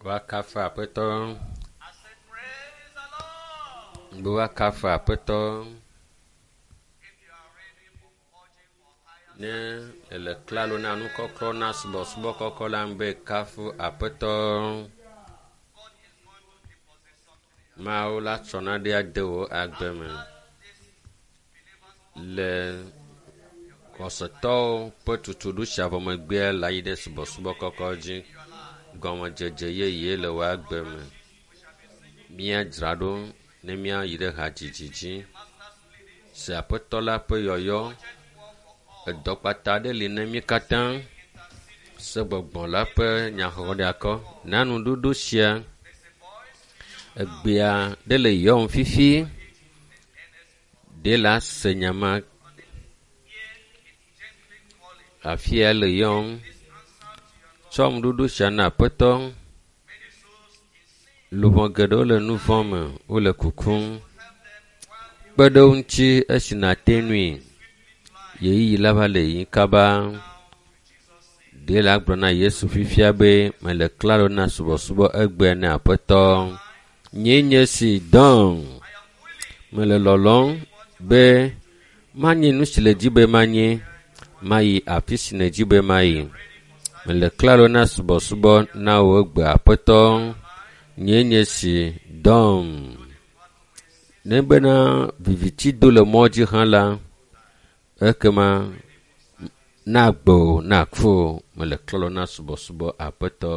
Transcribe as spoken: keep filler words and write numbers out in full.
Woakafu Aƒetɔ. I said, Praise the Lord. Be woakafu Aƒetɔ. If you are ready for purging for higher Ne ele klalo na nukɔklɔ na subɔsubɔ kɔkɔ la be kafu Aƒetɔ. God is going to deposit something in your Mawu la tsɔ nane ade wò agbe me. This believers Le xɔsetɔwo ƒe tutuɖo sia vɔ megbea le ayi ɖe subɔsubɔ kɔkɔ dzi. Gɔmedzedze yeye le wò agbe me. Míadzra ɖo ne míayi ɖe hadzidzi dzi. Se Aƒetɔ la ƒe yɔyɔ. Edɔ kpata aɖe li ne mí katã. Se gbɔgbɔ la ƒe nyaxɔɖeakɔ. Na nuɖuɖu sia. Egbea ɖe le yɔm fifi. Ɖe la se nya ma. Afi ya le yɔm. Tsɔ nuɖuɖu sia na Aƒetɔ. Luʋɔ geɖewo le nu vɔ̃ me. Wole kukum. Kpe ɖe wo ŋuti esi nàte ŋui. Ɣeyiɣi la va le yiyim kaba. Ɖe la gblɔ na Yesu fifia be mele klalo na subɔsubɔ egbea ne Aƒetɔ. Nyee nye si dɔm. Mele lɔlɔ̃m be manye nu si le dzi be manye. Mayi afi si nèdi be mayi. Mele klalo na subɔsubɔ na wò egbe Aƒetɔ. Nyee nye si dɔm. Ne bena viviti do le mɔ dzi hã la, ekema na agbe wò, na ku wò. Mele klalo na subɔsubɔ Aƒetɔ.